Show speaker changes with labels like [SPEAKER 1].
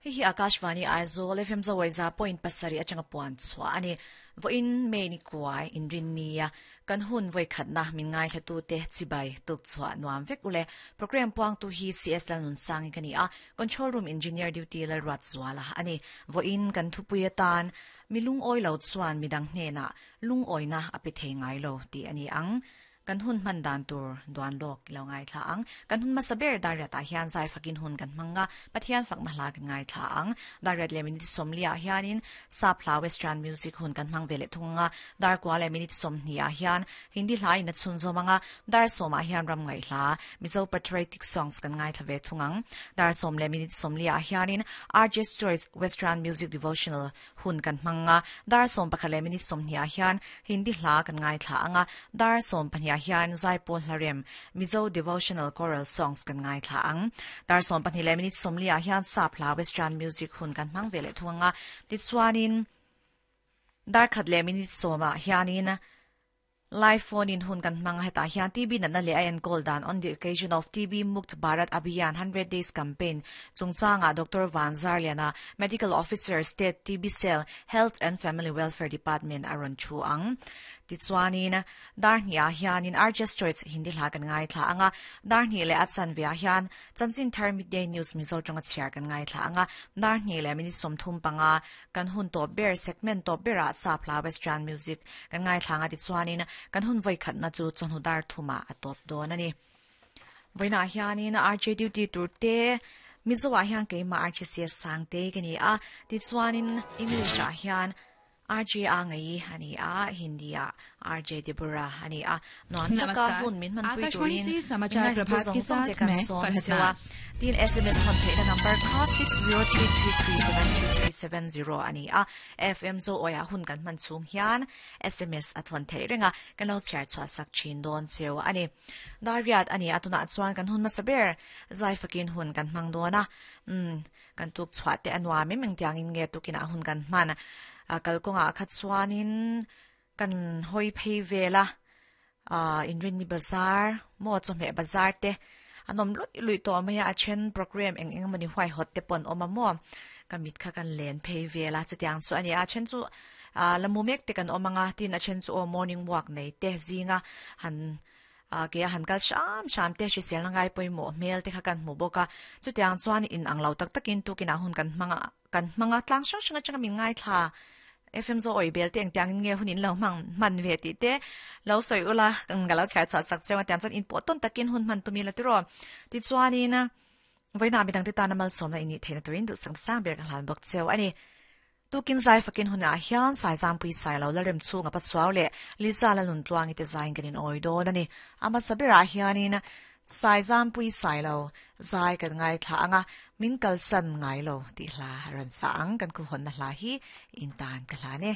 [SPEAKER 1] Hei hi Akashvani Aizawl FM Zawaiza point pasarih atanga puan chhuah a ni. Vawiin May ni kuai inrinnia kan hun vawikhatna min ngaithlatute chibai tuk chhuah nuam vek ule. Programme puangtu hi CS Lalnunsangi ka ni a, Control Room Engineer Duty Lalruatzuala a ni. Vawiin kan thupui atan mi lungawi lo chuan midang hnenah lungawina a pe thei ngai lo tih a ni ang. Kan hun hman dan tur duan lawk i lo ngaithla ang. Kan hun hmasa ber Dariat ah hian zai fakin hun kan hmang a, Pathian fakna hla kan ngaithla ang. Dariat leh minute sawmli ah hianin Sap hla Western music hun kan hmang ve leh thung ang a, dar kua leh minute 20 ah hian Hindi hla in a chhunzawm ang a, dar sawm ah hian ram ngaih hla Mizo patriotic songs kan ngaithla ve thung ang. Dar sawm leh minute 40 ah hianin RJ Choice Western music devotional Hun kan hmang a, dar 11 leh minute 20 ah hian Hindi hla kan ngaithla ang a, dar 12 ah hian Zaipawl Hlarem, Mizo Devotional Choral Songs kan ngaithla ang. Dar 12 leh minute 40 ah hian Sap hla Western Music hun kan hmang ve leh thung ang a, tichuanin dar khat leh minute 10 ah hianin Live phone in hun kan hmang a, hetah hian TB natna leh a enkawl dan On the occasion of TB Mukt Bharat Abhiyan 100 Days Campaign chungchangah Doctor Van Zarliana, Medical Officer, State TB Cell, Health and Family Welfare Department a rawn thu ang. Tichuanin, dar hnih ah hianin RJ's Choice Hindi hla kan ngaithla ang a, dar hnih leh a chanve ah hian Chanchin Thar Midday News Mizo tawnga chhiar kan ngaithla ang a, dar hnih leh minute 35 Kan hun tawp ber, segment tawp berah sap hla Western music kan ngaithla ang a tichuanin kan hun vawikhatna chu chawhnu dar thumah a tawp dawn a ni. Vawiinah hianin RJ duty tur te Mizo-ah hian keimah RJ CS Sangtei ka ni a, tichuanin English-ah hian RJ A Ngai a ni a, Hindi-ah RJ Deborah a ni a. Nuam taka
[SPEAKER 2] नमस्कार
[SPEAKER 1] hun min hmanpui
[SPEAKER 2] Akashvani
[SPEAKER 1] turin
[SPEAKER 2] से
[SPEAKER 1] min
[SPEAKER 2] समाचार
[SPEAKER 1] ngaihtu
[SPEAKER 2] प्रभात
[SPEAKER 1] zawng
[SPEAKER 2] के
[SPEAKER 1] zawng te
[SPEAKER 2] साथ
[SPEAKER 1] kan
[SPEAKER 2] मैं
[SPEAKER 1] sawm
[SPEAKER 2] Farhat
[SPEAKER 1] cheu a.
[SPEAKER 2] नाज
[SPEAKER 1] Tin SMS thawn theihna number kha 6033373370 a ni a. FM zo awia hun kan hman chhung hian SMS a thawn theih reng a, kan lo chhiar chhuah sak thin dawn cheu a ni. Dariat a ni a, tunah chuan kan hun hmasa ber zai fakin hun kan hmang dawn a. Umm, kan tuk chhuah te a nuam em engtiangin nge tukinah hun kan hman a, kalkawngah kha chuanin Kan hawi phei vel a, aah Inrinni bazar maw chawhmeh bazar te an awm luih luih tawh mai a, a then programme eng eng emawni huaihawt te pawh an awm a maw, ka mit kha kan len phei vel a, chutiang chu a ni a, a then chu aah la mu mek te kan awm ang a, tin a then chu aw morning walk nei te zinga han aah ke a han kal hram hram te hriselna ngai pawimawh hmel te kha kan hmu bawk a, chutiang chuan in ang lo tak takin tukinah hun kan hmang a. Kan hmang a, tlang hrang hrang atanga min ngaithla FM Zo awi bel te engtiang in nge hun in lo hmang hman ve tih te lo sawi ula ka lo chhiar chhuah sak cheu a tiang chuan in pawh tawn takin hun hman tum ila tiraw. Tichuanin vawiinah midang te tana malsawmna in nih theihna turin duhsak sang ber ka hlan bawk cheu a ni. Tukin zai fakin hunah hian Saizangpui Sailo Lalrem chhunga Pachuau leh Liza Laluntluangi te zaiin kan in awi dawn a ni. A hmasa berah hianin Saizangpui Sailo Zai kan ngaithla ang a, min kalsan ngai lo tih hla a rawn sa ang, kan khuhawnna hla hi in tan ka hlan e.